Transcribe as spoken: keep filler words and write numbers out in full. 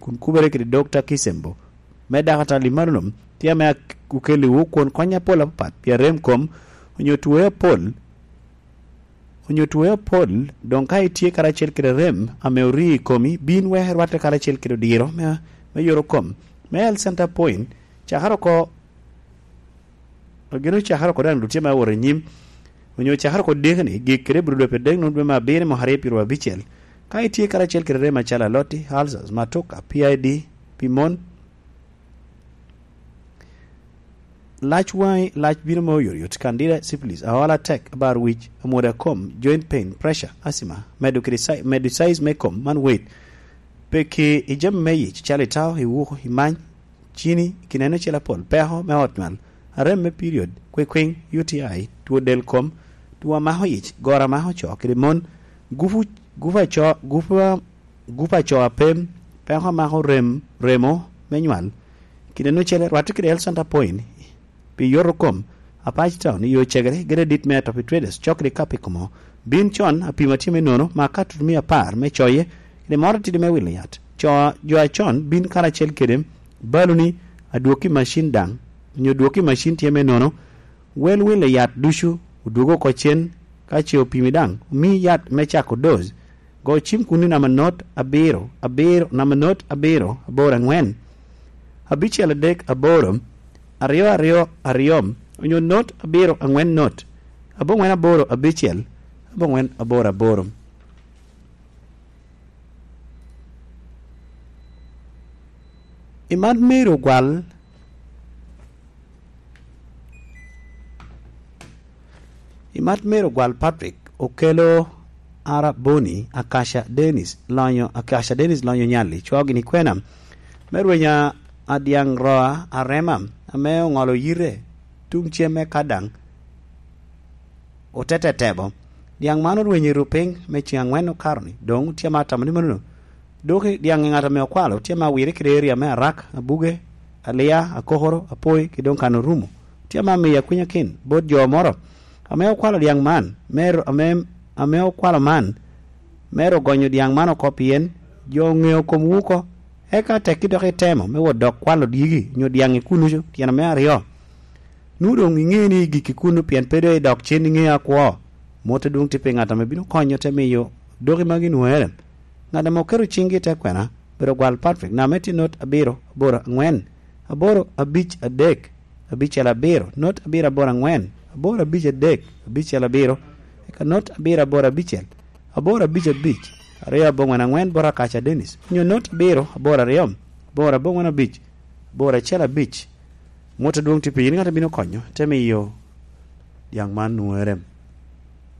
kun kubere kede Dokta Kisembo me dakatal i Malolom, tye ame ak-, okelliwu kwon kony apol apapat pi arem kom, onyo twoe apol, onyo twoe apol, doŋ ka itye karacel kede rem ame orii i komi, bin wek irwatte karacel kede odiro me, me yoro kom. Me Health Center Point, cakere oko, gin ocakere oko daŋ dutye me awot i nyim, onyo cakere oko dekeni, gik kede bro dwe adek nongo dwe me abiro i mwaka aryo pyeraryo abicel. Ka itye karacel kede rem acalo aloti, ulcers, matuka, P I D, pi mon, lac waŋi, lac bino ma oyotoyot, candida, syphilis, aola tek, abar wic, amwoda kom, joint pain, pressure, asthma, medo kede si-, medo size me kom, man weight, peki i jami me yic, calo itao, iwuko, imany, cini, kineno cel apol, peko me ot nywal, arem me period, kwikwiny, U T I, two del kom, two a mako yic, goro a mako co kede mon, gupu, gupu a co, gupu a, gupu a co a pem, peko a mako rem, remo me nywal, kineno cel, rwatte kede Health Center Point, pi yoto kom, Apac Town, i yo cegere, gedo adit me Atopi Traders, cokere i Kapikomo. Bin con, apimo atye me nono, mak katut mia apar me coye, kede moro atidi me wilo yat. Co, jo acon bin karacel kede baluni, adwokki macin daŋ, onyo dwokki macin tye me nono, wel wilo yat ducu, odwogo oko cen, ka ce opimi daŋ, omi yat me cako doz. Go cim kun i namba not abiro, abiro, namba not abiro, aboro angwen, abicel adek aboro, aryo aryo aryo, onyo not abiro angwen not, aboŋwen aboro abicel, aboŋwen aboro aboro. I mat meri ogwal, i mat meri ogwal Patrick okelo Ara Boni, Akasha Dennis lonyo, Akasha Dennis lonyo nyalli, cwo gini kwena, me rwenya adyaŋ roa arema, ame oŋolo yite tuŋ cem me kadaŋ, otete tebo. Dyaŋ man orwenyo i rupiny me ceŋ aŋwen okato-ni, doŋ tye ma atamo ni manono. Dok i dyaŋ i ŋat ame okwalo, tye ma wire kede eria me Arak, Abuge, Alia, Akokoro, Apoi, ki doŋ kan orumo. Tye ma miyo akwinyakin bot jo moro ame okwalo dyaŋ man, me ro-, ame, ame okwalo man, me ro gonyo dyaŋ man oko pien jo oŋeo komwu oko. Eka tekki dok itemo me wot dok kwalo dyegi nyo dyaŋ i kunucu, tyen me aryo. Nwoŋo doŋ iŋeo ni igikki kunnu pien pe doŋ idok cen iŋeo akwo. Mot adwoŋ tye pi ŋat ame bino konyo te miyo doki magi nwoŋere. Ŋat ame oketo ciŋgi i te kwena, bedo gwal Patrick, name tye not abiro, aboro, aŋwen, aboro, abic, adek, abicel, abiro, not abiro, aboro, aŋwen, aboro, abic, adek, abicel, abiro, eka not abiro, aboro, abicel, aboro, abic, abic, aryo, aboŋwen, aŋwen, bot Akaca Dennis, onyo not abiro, aboro, aryo, aboro, aboŋwen, abic, aboro, acel, abic. Mot adwoŋ tye pi yin ŋat a bino konyo, te miyo dyaŋ man nwoŋere.